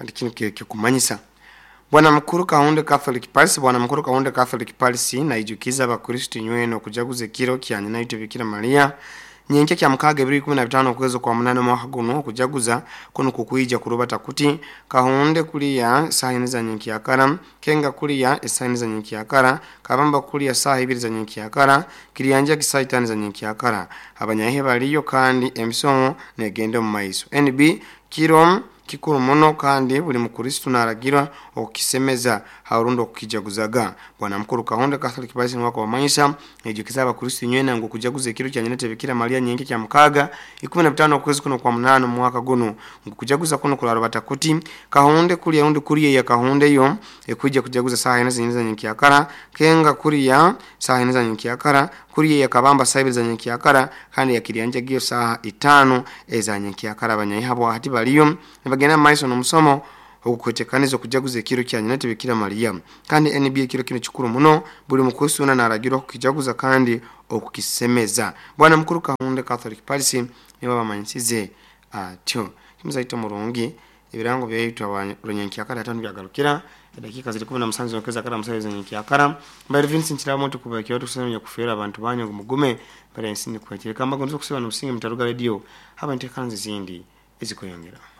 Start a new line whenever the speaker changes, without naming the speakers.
Kandi kinu kikumanyisa Bwana Mukuru Kahunde Catholic Parish. Bwana Mukuru Kahunde Catholic Parish naijukiza abakristo nywena okujaguza ekiro kya nyina itwe Bikira Maria nyenkya kya mukaaga ebiro 15 okwezi kwa munana omwaka guno. Okujaguza kunu kukwija kurubata kuti: Kahunde kuliya saaha ina za nyenkyakara, Kenga kuliya esaaha ina za nyenkyakara, Kabamba kuliya saaha ibiri za nyenkyakara, Kiryanjagi saaha itaano za nyenkyakara. Abanyahe baliyo kandi emisomo negenda omu maiso. NB kiro kikuru muno kandi buli mukristo naragirwa okukisemeza harundi okukijaguzaga. Bwana Mukuru Kahonde Catholic Parish niwe akubamanyisa naijukiza abakristo inywena ngu okujaguza ekiro kya nyina Bikira Maria nyenkya kya mukaaga 15 okwezi kuno kwa munana omwaka guno, ngu kujaguza kuno kurarubata kuti: Kahonde kuliya rundi kuriya ya Kahonde yo ekwija kujaguza saaha ina zenyini za nyenkyakara, Kenga kuriya saaha ina za nyenkyakara, kuriya ya Kabamba saaha ibiri za nyenkyakara, kandi ya Kiryanjagiyo saaha itaano eza nyenkyakara. Abanyaihabo hati baliyo nibagenda mu maiso n'omusomo ogukwetekaniza okujaguza ekiro kya nyina Bikira Maria. Kandi NB ekiro kino kikuru muno, buli mukristo wena naragirwa okukijaguza kandi okukisemeza. Bwana Mukuru Kahunde Catholic Parish nibo bamanyisize atyo. Kimuzaito murungi, ebirango byaitu rwenyenkyakara hati byagarukira edakiika ziri 17 zokeza kara musayo zenyenkyakara. Mbaire Vincent Kirabo tukuba kyoto kusema kufera abantu banyu ngu mugume bara ensi nikwekere kamba gonzo kusiba n'obusinge mutaruga radio haba ntekanze zindi ezikweyongera.